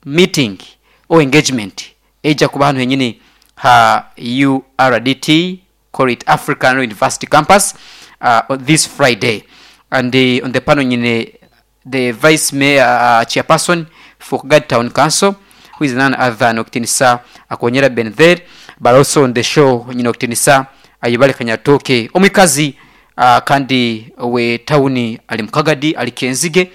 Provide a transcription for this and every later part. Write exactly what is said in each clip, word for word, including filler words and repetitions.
Meeting or engagement ejja kuba hano henyini ha U R D T, call it African University Campus, uh, on this Friday. And uh, on the panel nyine the vice mayor, uh, chairperson for Kagadi Town Council, who is none other than Okutinisa Akonyera Benther, but also on the show nyine Okutinisa Ayibale Kanyatoke, omwikazi uh, kandi we tawuni ali mukagadi ali Kenzige,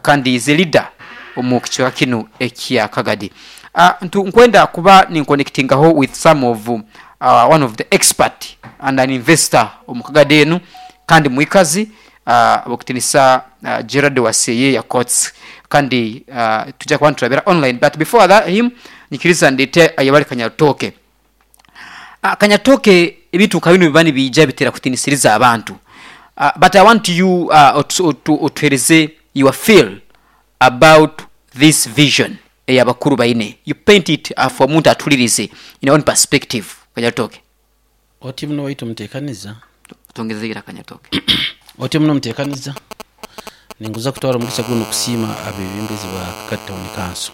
kandi is a leader omu kicweka kinu ekya Kagadi. uh, ntu nkwenda kuba ninconnectingaho with some of uh, one of the expert and an investor omu Kagadi enu kandi mwikazi, uh, okutinisa uh, Gerard Waseye Yakots, kandi uh, tujja kuba niturabira online. But before that him, nyikiriza ndete Ayabali Kanyatoke. uh, kanyatoke ebintu nka bino biba nibiija bitera kutinisiriza abantu, uh, but I want you uh, otuhereze your feel about this vision eyabakuru baine. You paint it uh, for omuntu atulirize in your own perspective, Kanyatoke. Oti muno waitu muteekaniza. Tongezeira, Kanyatoke. Oti muno muteekaniza, ninguza kutwara omugisa guno kusiima abebembezi ba Kagadi Town Council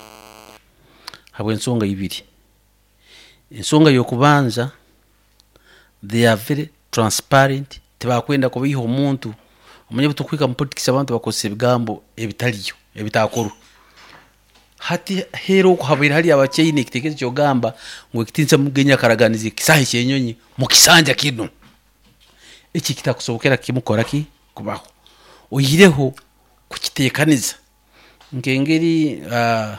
habw'ensonga ibiri. Ensonga y'okubanza, they are very transparent, tibakwenda kubiiha omuntu. Omanye butukwika mu politics, abantu bakozesa ebigambo ebitaliyo ebitakorwa. Hati hera okuhabaire hali abakyaine ekitekerezo kyogamba ngu ekitinisa Mugenyi akaraganiza ekisaha ekyenyonyi mu kisanja kino, eki kitakusobokera kimu kukora ki kubaho, oihireho kukitekaniza nkengeri uh,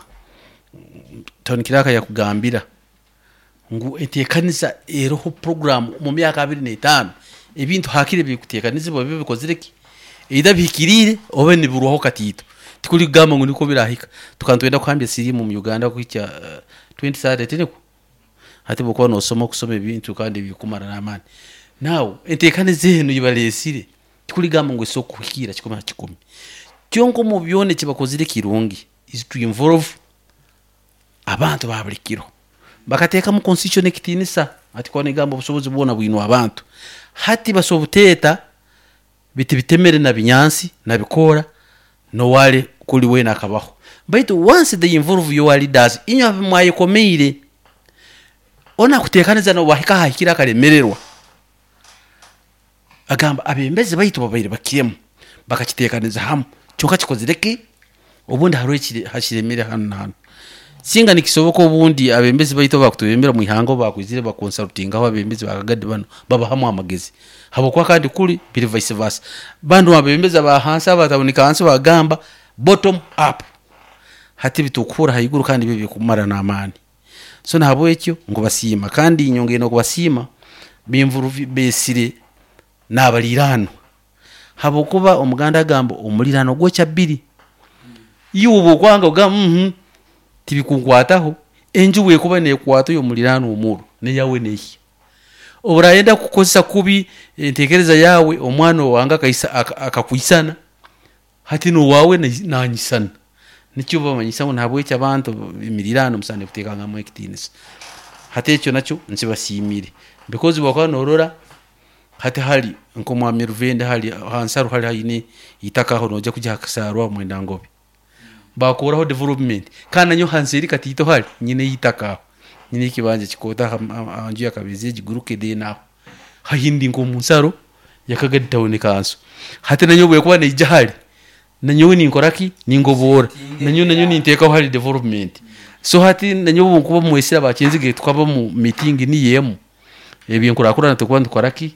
Tony Kiraka yakugambira ngu enteekaniza eroho program mu myaka abiri n'etaano, ebintu hakire bikuteekanizibwa bibe bikozire ki, either bihikiriire oba nibirwaho katiito. Tikuli kugamba ngu niko birahika. Tukaba nitwenda kuhambya siriimu mu Uganda kuhikya uh, twenty thirty, tiniko hati bwokuba nosoma okusoma ebintu kandi bikumara n'amaani. Now enteekaniza enu yibalesire, tikuligamba ngu esobola kuhikira kikumi ha kikumi, kyonka omu byona ekibakozire kirungi is to involve abantu ba buli kiro, bakateekamu constitution ekitiinisa ati kuba nigamba obusobozi bwona bwinwa abantu. Hati basobola buteeta biti bitemere na binyansi na bikoora nowale kuli wena akabaho, baitu once they involve your leaders, inywe mwayekomeire ona kuteekaniza nobahika hahikira akalemererwa, agamba abembezi baitu babaire bakiremu bakakiteekaniza hamu, kyonka kikozire ki, obundi hariho ekiri- hakiremere hano na hano. Singa nikisoboka, obundi abembezi baitu bakutubembera mu ihanga bakwizire bakonsultingaho abembezi bakagadi bano, babahamu amagezi, habwokuba kandi kuli biri vice versa, bandu abembezi aba hansi abatabunika hansi bagamba bottom up, hati bitukuhura haiguru kandi byo bikumara n'amaani. So nahabwekyo nkubasiima, kandi nyongere n'okubasiima binvuru besire n'abaliraanwa, habwokuba Omuganda agamba omuliraano gwokya bbiri. Iwe bwokwanga ogamba mm tibikunkwataho, enju bwekuba nekwata oyo omuliraano omuro neyawe nehya. Oburayenda kukozesa kubi entekereza yawe, omwana owange akaisa- aka- akakwisana hati nowawe nanyisana, nikyo bamanyisa ngu nahabwekyo abantu emirirano musande kuteekangamu ekitiinisa. Hati ekyo nakyo nkibasiimire, because bwakuba norora hati hali nk'omwami Ruvende hali hansaro hali haine itaka aho nojja kujya hakasarwa mwenda ngobe bakuraho development, kandi nanyo hansi eri katiito hali nyine itaka aho, nyine ekibanja kikota anju yakabezi egiguruke, then aho hahindi nk'omunsaro yakagadi Town Council. Hati nanyo bwekuba neija hali nanyowe ninkora ki, ningoboora nanyo nanyo ninteekaho hali development. So hati nanyowe nkuba mwesire abakenzige tukaba mu meeting niyemu ebyenkurakurana, tukuba nitukora ki,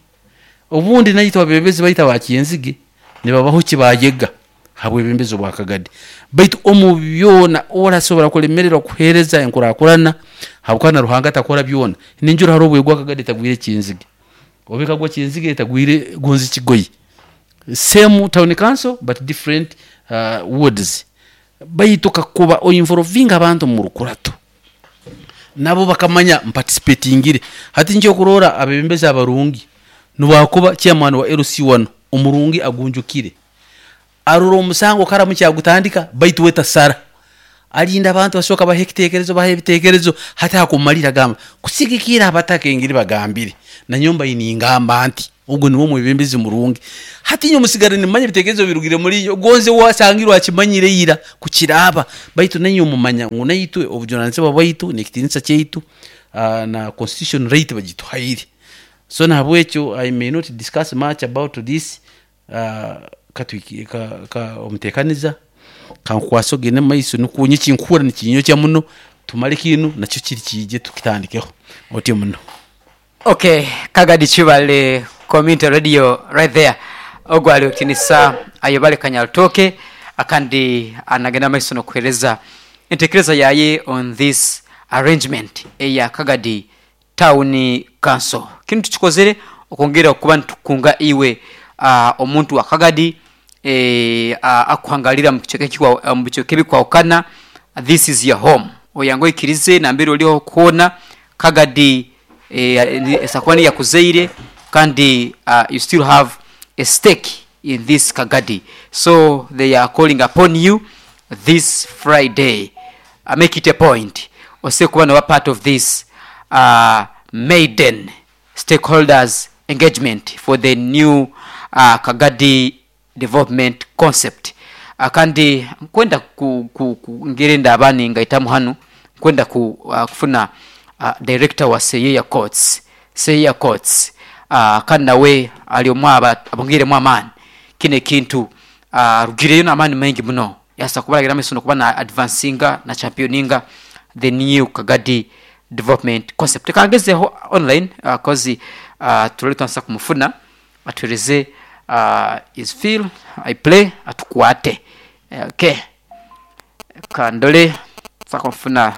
obundi naitwe abebembezi baitu abakenzige nibabaho kibayega habwebembezi obwakagadi. Baitu omu byona orasobora kulemererwa kuheereza enkurakurana, habwokuba na Ruhanga atakora byona. Ninjura hariho obwegwa akagadi etagwire ekinzige, oba ekagwa kinzige etagwire gonzi kigoyi, same town council but different uh, wards. Baitu kakuba oinvolvinga abantu mu rukurato, nabo bakamanya mpaticipatingire. Hati nkyo kurora abebembezi abarungi, niwakuba chairman wa L C one omurungi agunjukire, arora omusango karamu kyagutandika, baitu we tasara, alinda abantu basooka baha ekitekerezo, baha ebitekerezo, hati akumalira agamba kusigikira abataka engeri bagambire, nanyomba iningamba nti Ogwo niwo mwebembezi murungi. Hati inye musigara nimanya ebitekerezo birugire muri yo gonze wasangirwe akimanyire ira kukiraba, baitu nainye omumanya ngu naitwe obujunanizibwa bwaitu n'ekitinisa kyaitu, uh, na constitution right bagituhaire. So nahabwekyo I may not discuss much about this. uh, katwiki ka, ka omutekaniza kankwasa ogende mumaiso, nikwo nye kinkuhura nikinyokya muno. Tumale kinu nakyo kiri kiije tukitandikeho otyo muno. Okay, Kagadi Chibale Community Radio right there. Ogwo ali okitinisa Ayebare Kanyarutooke, akandi anagenda maiso nokuhereza entekereza yaye on this arrangement eya Kagadi Town Council. Kinu tukikozere okwongera okuba nitukunga iwe, uh, omuntu wa Kagadi, eh, uh, akuhangalira mu kicweka ekikwa-, mu bicweka ebikwahukana. This is your home. Oyangu oikirize nambere oliho kwona Kagadi, eh, esakuba niyakuzaire, kandi uh, you still have a stake in this Kagadi. So they are calling upon you this Friday. uh, make it a point ose kuba noba part of this uh, maiden stakeholders engagement for the new uh, Kagadi development concept. uh, kandi nkwenda ku, ku, ku ngere ndabani ngaitamu hanu nkwenda ku, uh, kufuna uh, director wa Seyeya Courts, Seyeya Courts, uh, kandi nawe ali omwaba abongiremu amaani kino ekintu, uh, rugireyo n'amaani maingi muno yasa kubalagira amaiso nokuba na advancinga na championinga the new Kagadi development concept. Kangezeho online, uh, kozi uh, tulole twansa kumufuna atueleze uh, is feel I play atukwate. Okay, kandole sakumfuna.